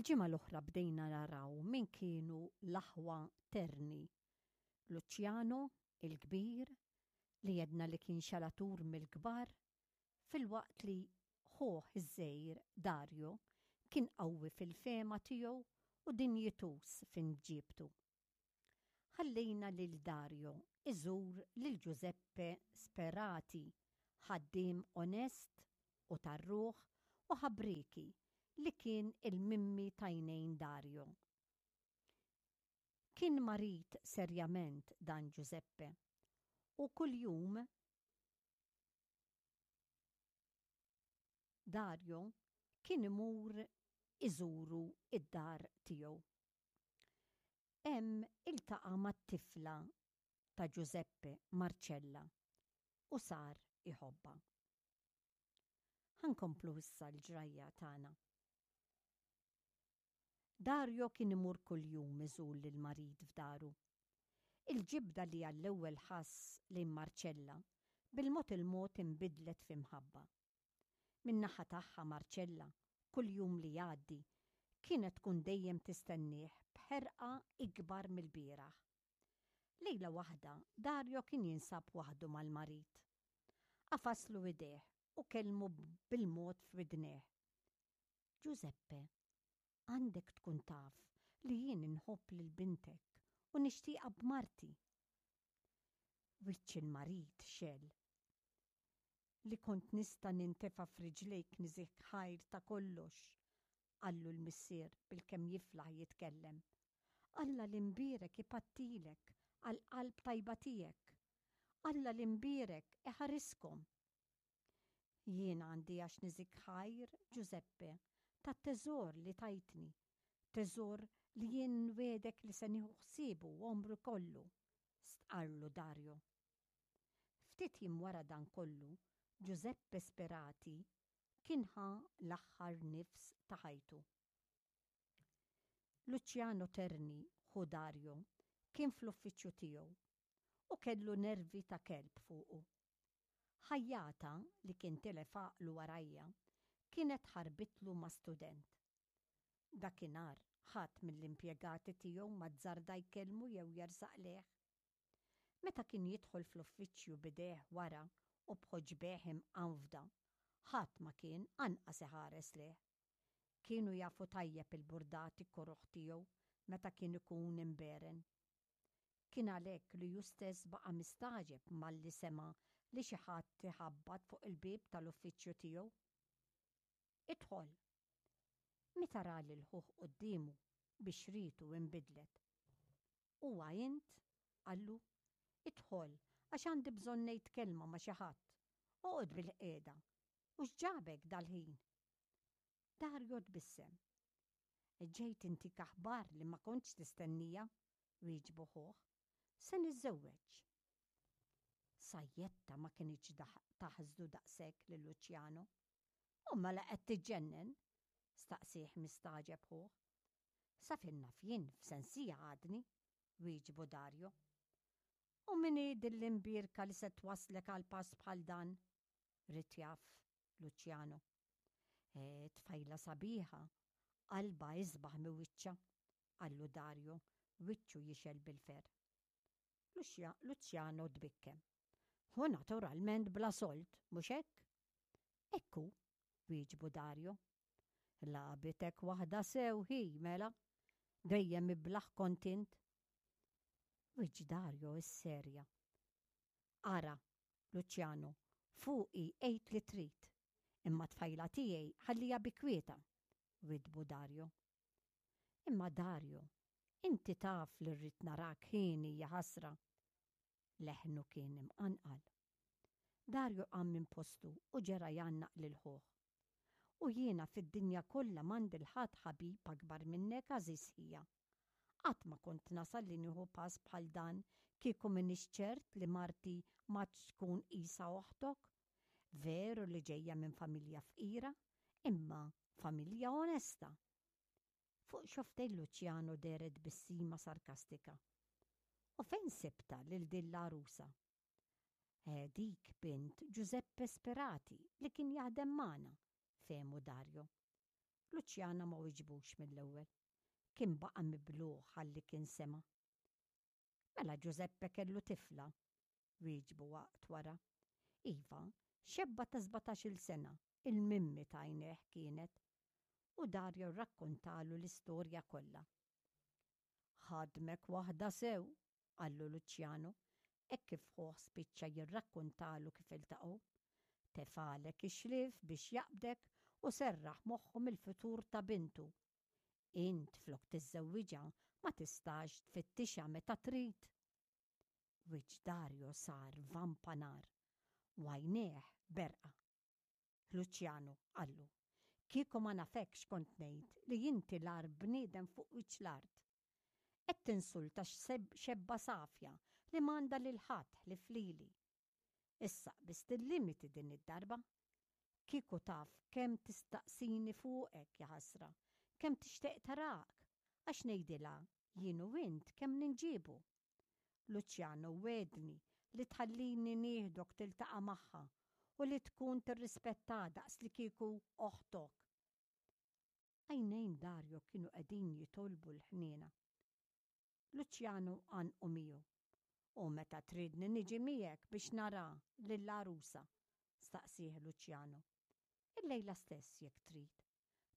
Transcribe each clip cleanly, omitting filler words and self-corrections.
Il-ġimgħa l-oħra bdejna naraw min kienu l-aħwa Terni. Luciano, il-kbir, li għedna li kien xalatur mill-kbar, filwaqt li ħuh iż-żgħir Dario kien qawwi fil-fehma tiegħu u dinjituż f'imġiebtu. Ħallejna lil Dario iżur lil Giuseppe Sperati, ħaddiem onest u tar-ruħ u ħabrieki li kien il-mimmi t'għajnejn Dario. Kien marid serjament dan Giuseppe u kuljum Dario kien imur iżuru d-dar tiegħu. Hemm iltaqa' mat-tifla ta' Giuseppe, Marcella, u sar iħobbha. Ħa nkomplu issa l-ġrajja tagħna. Dario kien imur kuljum iżur lill-marid f'daru. Il-ġibda li għall-ewwel ħass lejn Marcella, bil-mod il-mod inbidlet fi mħabba. Min-naħa tagħha Marcella, kull jum li jgħaddi, kienet tkun dejjem tistennieh b'ħerqa ikbar mill-bieraħ. Lejla waħda Dario kien jinsab waħdu mal-marid. Għafaslu idejh u kellmu bil-mod f'widnejh. Giuseppe, għandek tkun taf li jien inħobb lil bintek u nixtieqha b'marti. Wiċċ il-marid xegħel. Li kont nista' nintefa' f'riġlejk niżih ħajr ta' kollox, qallu l-missier bilkemm jiflaħ jitkellem. Alla l-Imbierek ipattilek għall-qalb tajba tiegħek. Alla l-Imbierek iħariskom. Jien għandi għax niżik ħajr, Ġużeppe, tat-teżor li tajtni, teżor li jien nwiegħdek li se nieħu ħsiebu għomri kollu, stqarrlu Dario. Ftit jiem wara dan kollu, Ġużeppe Sperati kien ħa l-aħħar nifs ta' ħajtu. Luciano Terni, ħu Dario, kien fl-uffiċċju tiegħu u kellu nervi ta' kelb fuqu. Ħajjata, li kien tilef għaqlu warajja, kienet ħarbitlu ma' student. Dakinhar ħadd mill-impjegati tiegħu ma azzarda jkellmu jew jersaq lejh. Meta kien jidħol fl-uffiċċju b'idejh wara u b'ħoġbejh imqanfda, ħadd ma kien anqas iħares lejh. Kienu jafu tajjeb il-burdati koroh tiegħu meta kien ikun imberen. Kien għalhekk li hu stess baqa' mistagħġeb malli sema' li xi ħadd iħabbat fuq il-bieb tal-uffiċċju tiegħu. Idħol! Meta ra lil ħuh quddiemu, bixritu inbidlet. Huwa int? qallu. Idħol, għax għandi bżonn ngħid kelma ma' xi ħadd. Oqgħod bilqiegħda. U x'ġabek dal-ħin? Dario tbissem. Ġejt intik aħbar li ma kontx tistennija, wieġbu ħuh. Se niżżewweġ. Sajjetta ma kinitx taħsdu daqshekk lil Luciano. U mela qed tiġġennen? staqsieh mistagħġeb ħuh. Sa fejn naf jien f'sensija għadni, wieġbu Dario. U min hi din l-imbierka li se twasslek għal pass bħal dan? ried jaf Luciano. Eh, tfajla sabiħa, qalbha isbaħ mi wiċċha, qallu Dario, wiċċu jixgħel bil-ferħ. Luciano tbikkem. U naturalment bla sold, mhux hekk? Hekk hu, wieġbu Dario. Lagħbitek waħda sew hi, mela. Dejjem iblah kont int. Wiċċ Dario isserja. Ara, Luciano, fuqi għid li trid, imma t-tfajla tiegħi ħalliha bi kwietha, widdbu Dario. Imma Dario, inti taf li rrid narak hieni jaħasra. Leħnu kien imqanqal. Dario qam minn postu u ġera jgħannaq lil ħuh. U jiena fid-dinja kollha m'għandi 'l ħadd ħabib akbar minnek għażiż ħija. Qatt ma kont nasal li nieħu pass bħal dan kieku m'iniex ċert li marti m'għadx tkun qisha oħtok. Veru li ġejja minn familja fqira, imma familja onesta. Fuq xofftejn Luciano dehret tbissima sarkastika. U fejn sibtha lil din l-għarusa? Eh, dik bint Giuseppe Sperati li kien jaħdem magħna, fehmu Dario. Luciano ma wiġbux mill-ewwel. Kien baqa' miblugħ għal li kien sema'. Mela Giuseppe kellu tifla? wieġbu waqt wara. Iva, xebba ta' sbatax-il sena, il-mimmi t'għajnejh kienet. U Dario rrakkontalu l-istorja kollha. Ħadmek waħda sew, qallu Luciano, hekk kif ħuh spiċċa jirrakkontalu kif iltaqgħu. Tefgħalek ix-xlief biex jaqbdek u serraħ moħħu mill-futur ta' bintu. Int flok tiżżewwiġha ma tistax tfittixha meta trid? Wiċċ Dario sar vampa nar u għajnejh berqa. Luciano, qallu, kieku ma nafekx kont ngħid li inti l-agħar bniedem fuq wiċċ l-art. Qed tinsulta xebba safja li m'għandha lil ħadd ħlief lili. Issa qbiżt il-limiti din id-darba. Kieku taf kemm tistaqsini fuqek, jaħasra, kemm tixtieq tarak, għax ngħidilha jien u int kemm ninġiebu. Luciano wegħdni li tħallini nieħdok tiltaqa' magħha u li tkun tirrispettaha daqslikieku oħtok. Għajnejn Dario kienu qegħdin jitolbu l-ħniena. Luciano għannqu miegħu. U meta tridni niġi miegħek biex nara lill-għarusa? staqsieh Luciano. Illejla stess jekk trid.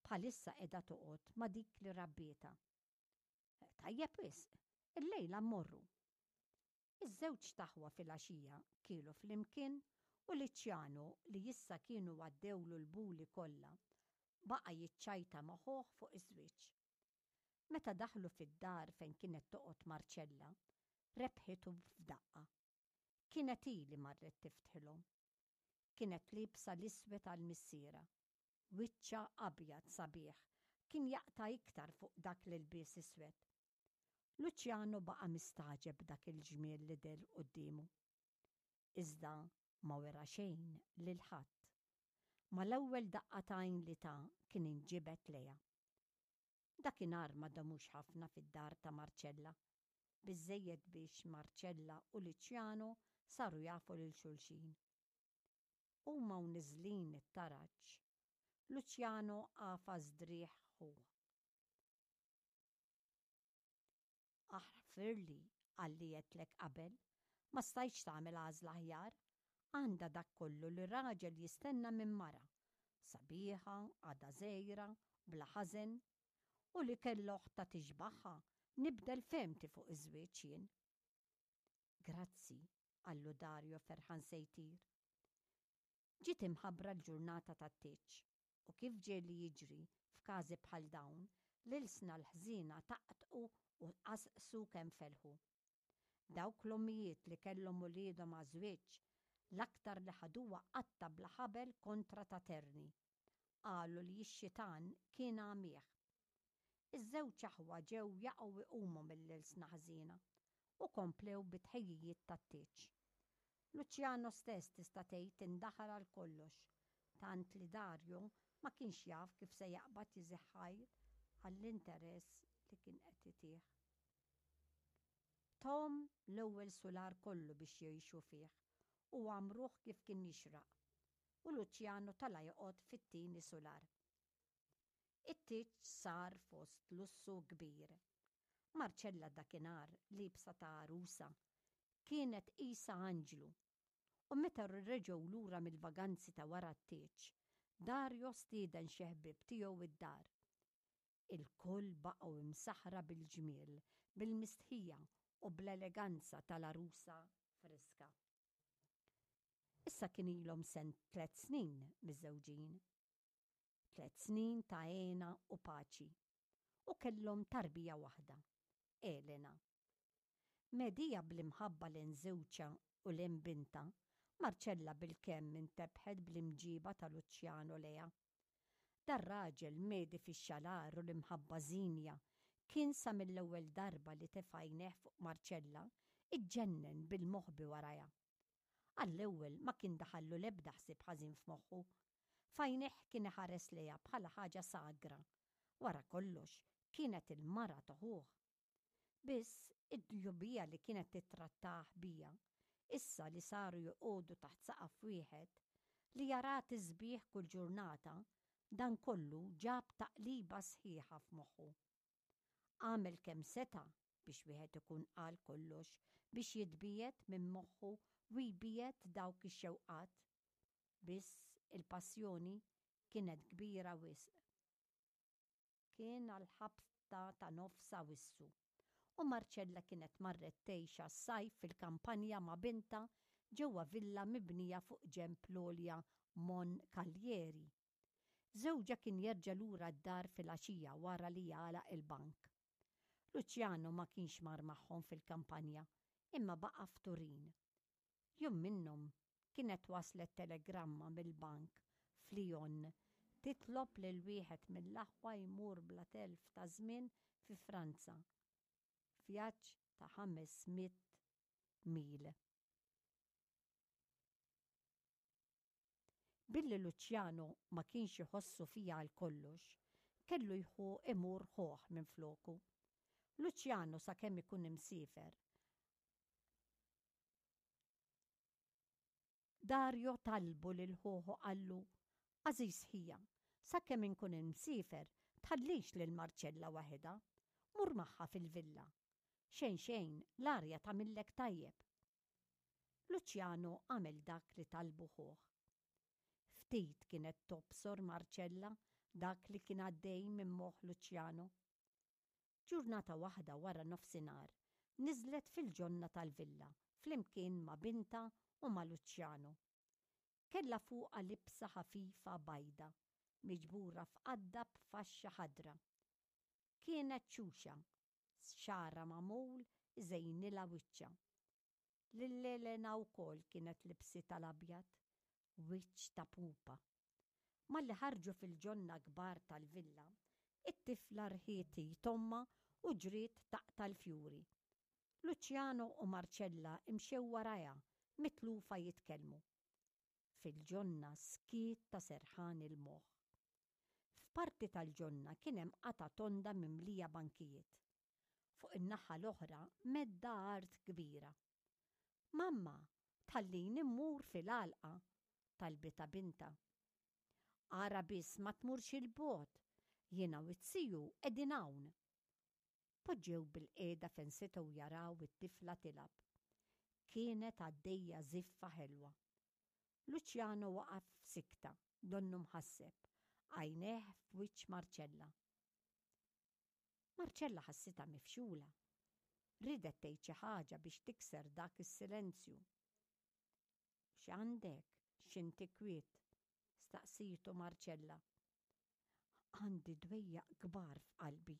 Bħalissa qiegħda toqgħod ma' dik li rabbietha. Tajjeb wisq, illejla mmorru. Iż-żewġt aħwa filgħaxija kielu flimkien u Luciano li issa kienu għaddewlu l-buli kollha, baqa' jiċċajta ma' ħuh fuq iż-żwieġ. Meta daħlu fid-dar fejn kienet toqgħod Marcella, rebħitu f'daqqa. Kienet hi li marret tiftħilhom. Kienet liebsa l-iswed għal missierha. Wiċċha abjad sabiħ kien jaqta' iktar fuq dak l-ilbies iswed. Luciano baqa' mistagħġeb b'dak il-ġmiel li deher quddiemu. Iżda ma wera xejn lil ħadd. Mal-ewwel daqqa t'għajn li ta kien inġibed lejha. Dakinhar ma damux ħafna fid-dar ta' Marcella. Biżżejjed biex Marcella u Luciano saru jafu lil xulxin. Huma u niżlin it-taraġ, Luciano għafas driegħ ħuh. Aħfirli għal li għedtlek qabel, ma stajtx tagħmel għażla aħjar. Għandha dak kollu li raġel jistenna minn mara. Sabiħa, għadha żgħira, bla ħażen. U li kellha oħtha tixbahha, nibdel fehmti fuq iż-żwieġ jien. Grazzi, qallu Dario ferħan se jtir. Ġiet imħabbra l-ġurnata tat-tieġ u kif ġieli jiġri f'każi bħal dawn, l-ilsna l-ħżiena taqtqu u qasqsu kemm felħu. Dawk l-ommijiet li kellhom uliedhom għaż-żwieġ, l-aktar li ħaduha qatta' bla ħabel kontra ta' Terni. Qalu li x-xitan kien għamih. Iż-żewġ aħwa ġew jaqgħu iqumu mill-ilsna ħżiena u komplew bit-tħejjijiet tat-tieġ. Luciano stess tista' tgħid indaħal għal kollox, tant li Dario ma kienx jaf kif se jaqbad jiżih ħajr għall-interess li kien qed itih. Tahom l-ewwel sular kollu biex jgħixu fih u għammruh kif kien jixraq, u Luciano tala' joqgħod fit-tieni sular. It-tieġ sar fost lussu kbir. Marcella dakinhar liebsa ta' għarusa, kienet qisha anġlu. U meta reġgħu lura mill-vaganzi ta' wara t-tieġ, Dario stieden xi ħbieb tiegħu d-dar. Ilkoll baqgħu imsaħħra bil-ġmiel, bil-mistħija u bl-eleganza tal-għarusa friska. Issa kien ilhom tliet snin miżżewġin. Tliet snin ta' hena u paċi. U kellhom tarbija waħda, Elena. Medhija bl-imħabba lejn żewġha u lejn bintha, Marcella bilkemm intebħet bl-imġiba ta' Luciano lejha. Dar-raġel medhi fix-xalar u l-imħabba żienja kien sa mill-ewwel darba li tefa' għajnejh fuq Marcella, iġġennen bil-moħbi warajha. Għall-ewwel ma kien daħallu l-ebda ħsieb ħażin f'moħħu. F'għajnejh kien iħares lejha bħala ħaġa sagra. Wara kollox, kienet il-mara ta' ħuh. Biss, id-djubija li kienet tittrattah biha, issa li saru joqogħdu taħt saqaf wieħed, li jaraha tisbieħ kull ġurnata, Dan kollu ġab taqliba sħiħa f'moħħu. Għamel kemm seta' biex wieħed ikun qal kollox biex jitbiegħed minn moħħu u jbiegħed dawk ix-xewqat. Biss il-passjoni kienet kbira wisq. Kien għall-ħabta ta' nofs Awissu u Marcella kienet marret tgħix għas-sajf fil-kampanja ma' bintha ġewwa villa mibnija fuq ġenb l-għolja Mon Caglieri. Żewġha kien jerġa' lura d-dar filgħaxija wara li jagħlaq il-bank. Luciano ma kienx mar magħhom fil-kampanja imma baqa' f'Turin. Jum minnhom kienet waslet telegramma mill-bank f'Lyon titlob lil wieħed mill-aħwa jmur bla telf ta' żmien fi Franza, vjaġġ ta' 500 mil. Billi Luciano ma kienx iħossu fiha għal kollox, kellu jħu imur ħuh minfloku. Luciano sakemm ikun imsiefer, Dario talbu lil ħuh u qallu, Għażiż ħija, sakemm inkun imsiefer tħallix lil Marcella waħedha. Mur magħha fil-villa. Xejn xejn, l-arja tagħmillek tajjeb. Luciano għamel dak li talbu ħuh. Ftit kienet tobsor Marcella dak li kien għaddej minn moħħ Luciano. Ġurnata waħda wara nofsinhar niżlet fil-ġonna tal-villa flimkien ma' bintha u ma' Luciano. Kellha fuqha libsa ħafifa bajda miġbura f'qadda b'faxxa ħadra. Kienet xuxa, xagħarha magħmul iżejnilha wiċċha. Lil Elena wkoll kienet libsitha l-abjad, wiċċ ta' pupa. Malli ħarġu fil-ġonna kbar tal-villa, it-tifla rħiet id ommha u ġriet taqta' l-fjuri. Luciano u Marcella mxew warajha mitlufa jitkellmu. Fil-ġonna skiet ta' serħan il-moħħ. F'parti tal-ġonna kien hemm qatgħa tonda mimlija bankijiet. Fuq in-naħa l-oħra medda art kbira. Mamma, tħallini mmur fil-għalqa, talbitha bintha. Ara biss ma tmurx 'il bogħod, jiena u t-tiju qegħdin hawn. Poġġew bilqiegħda fejn setgħu jaraw it-tifla tilgħab. Kienet għaddejja żiffa ħelwa. Luciano waqaf f'sikta, donnu mħasseb, għajnejh f'wiċċ Marcella. Marcella ħassitha mifxula. Riedet tgħid xi ħaġa biex tikser dak is-silenzju. X'għandek? X'inti kwiet? staqsietu Marcella. Għandi dwejjaq kbar f'qalbi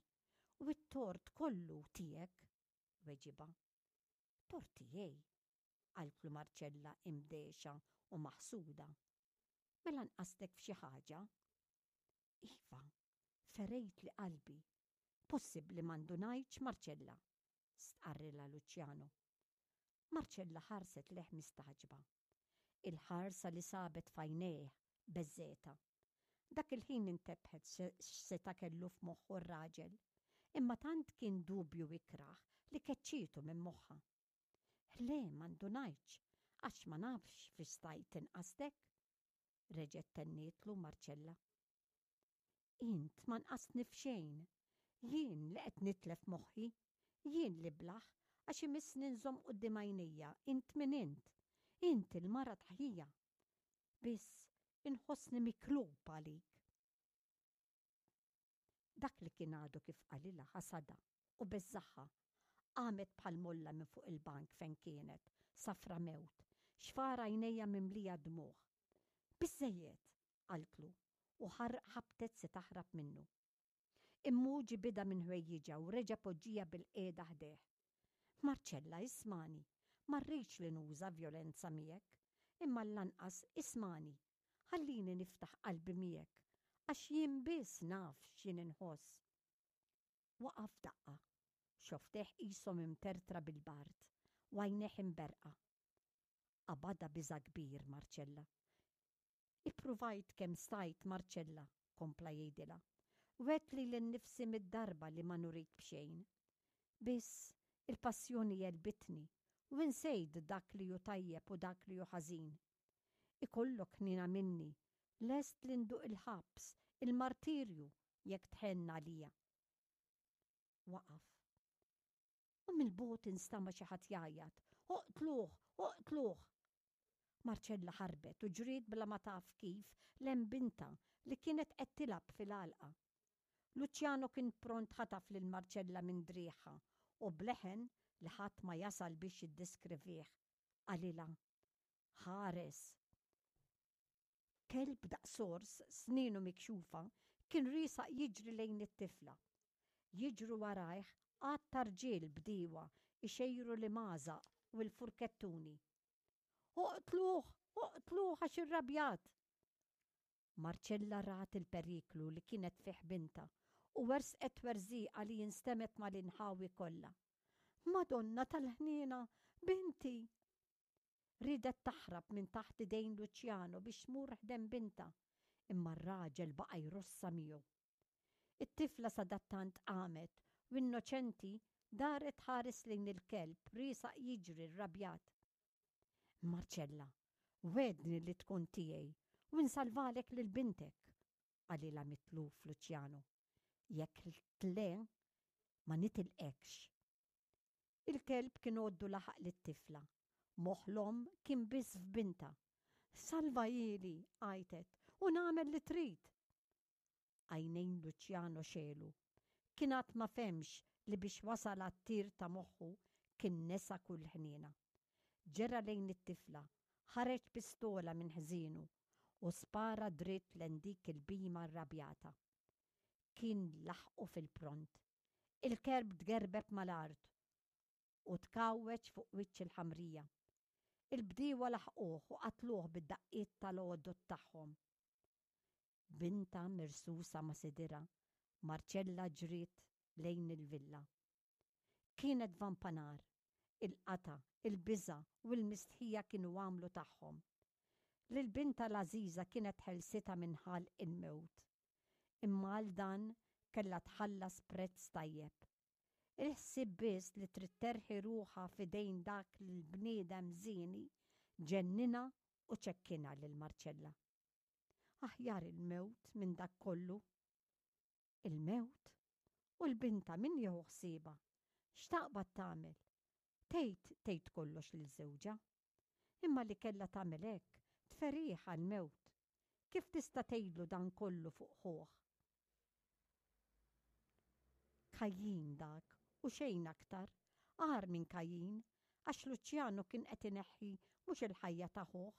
u t-tort kollu tiegħek, weġibha. Tort tiegħi? qaltlu Marcella imdehxa u maħsuda. Mela nqastek f'xi ħaġa? Iva, ferejtli qalbi. Possibbli ma ndunajtx, Marcella? stqarrilha Luciano. Marcella ħarset lejh mistagħġba. Il-ħarsa li sabet f'għajnejh beżżgħetha. Dak il-ħin intebħet x'seta' kellu f'moħħu r-raġel, imma tant kien dubju ikrah li keċċietu minn moħħha. Le, ma ndunajtx, għax ma nafx fiex stajt inqastek, reġgħet tennietlu Marcella. Int ma nqastni f'xejn. Jien li qed nitlef moħħi. Jien l-iblah għax imissni nżomm quddiem għajnejja int min int. Int il-mara ta' ħija. Biss inħossni miklub għalik. Dak li kien għadu kif qalilha ħasadha u beżżagħha. Qamet bħal molla minn fuq il-bank fejn kienet, safra mewt, xfar għajnejha mimlija dmugħ. Biżżejjed! qaltlu u ħabtet se taħrab minnu. Imma hu ġibidha minn ħwejjiġha u reġa' poġġiha bilqiegħda ħdejh. Marcella, ismagħni, ma rridx li nuża vjolenza miegħek, imma lanqas ismagħni, ħallini niftaħ qalbi miegħek, għax jien biss naf x'jien inħoss. Waqaf f'daqqa, xofftejh qishom imtertra bil-bard u għajnejh imberrqa. Qabadha biża' kbir Marcella. Ippruvajt kemm stajt, Marcella, kompla jgħidilha. Wegħdt lili nnifsi mid-darba li ma nurik b'xejn. Biss, il-passjoni għelbitni u insejt dak li hu tajjeb u dak li hu ħażin. Ikollok ħniena minni, lest li nduq il-ħabs, Il-martirju jekk tħenn għalija. Waqaf. U mill-bogħod instama' xi ħadd jgħajjat, Oqtluh! Oqtluh! Marcella ħarbet u ġriet bla ma taf kif 'l hemm bintha li kienet qed tilgħab fil-għalqa. Luciano kien pront ħataf lil Marcella minn driegħha u b'leħen li ħadd ma jasal biex jiddeskrivih, qalilha, Ħares! Kelb daqs ors, snienu mikxufa, kien riesaq jiġri lejn it-tifla. Jiġru warajh għadd ta' rġiel bdiewa jxejru l-imgħażaq u l-furkettuni. Oqtluh! Oqtluh għax irrabjat! Marcella rat il-periklu li kienet fih bintha u werżqet twerżiqa li instemgħet mal-inħawi kollha. Madonna tal-ħniena! Binti! Riedet taħrab minn taħt idejn Luciano biex tmur ħdejn bintha, imma r-raġel baqa' jrossha miegħu. It-tifla sadattant qamet u innoċenti daret tħares lejn il-kelb riesaq jiġri rrabjat. Marcella, wegħdni li tkun tiegħi u nsalvalek lil bintek, qalilha mitluf Luciano. Jekk le, ma nitilqekx. Il-kelb kien għoddu laħaq lit-tifla. Moħħ l-omm kien biss f'bintha. Salvahieli, għajtet, u nagħmel li trid! Għajnejn Luciano xegħlu. Kien għad ma fehmx li biex wasal għat-tir ta' moħħu kien nesa kull ħniena. Ġera lejn it-tifla, ħareġ pistola minn ħżienu u spara dritt lejn dik il-bhima rrabjata. Kien laħqu fil-pront. Il-kelb tgerbeb mal-art u tkgħawweġ fuq wiċċ il-ħamrija. Il-bdiewa laħquh u qatluh bid-daqqiet tal-għodod tagħhom. Bintha mirsusa ma' sidirha, Marcella ġriet lejn il-villa. Kienet vampa nar. Il-qatgħa, il-biża' u l-mistħija kienu għamlu tagħhom. Lil bintha l-għażiża kienet ħelsitha minn ħalq il-mewt. Imma għal dan kellha tħallas prezz tajjeb. Il-ħsieb biss li trid terħi ruħha f'idejn dak l-bniedem żieni ġenninha u ċekkinha lil Marcella. Aħjar il-mewt minn dak kollu. Il-mewt? U l-bintha min jieħu ħsiebha? X'taqbad tagħmel? Tgħid tgħid kollox lil żewġha. Imma li kellha tagħmel hekk, tferih għall-mewt. Kif tista' tgħidlu dan kollu fuq ħuh? Kajjin dak u xejn aktar, agħar minn Kajjin, għax Luċjanu kien qed ineħħi mhux il-ħajja ta' ħuh,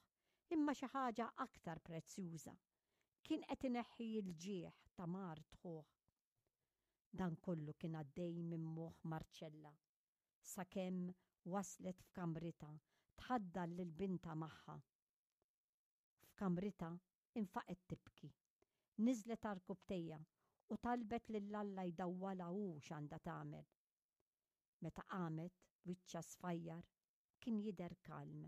imma xi ħaġa aktar prezzjuża. Kien qed ineħħi l-ġieħ ta' mart ħuh. Dan kollu kien għaddej minn moħħ Marcella sakemm waslet f'kamritha tħaddan lil bintha magħha. F'kamritha infaqgħet tibki. Niżlet għarkupptejha u talbet lil Alla jdawwalha hu x'għandha tagħmel. Meta qamet, wiċċha sfajjar, kien jidher kalm.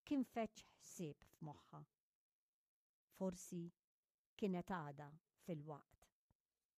Kien feġġ ħsieb f'moħħha. Forsi kienet għadha fil-waqt.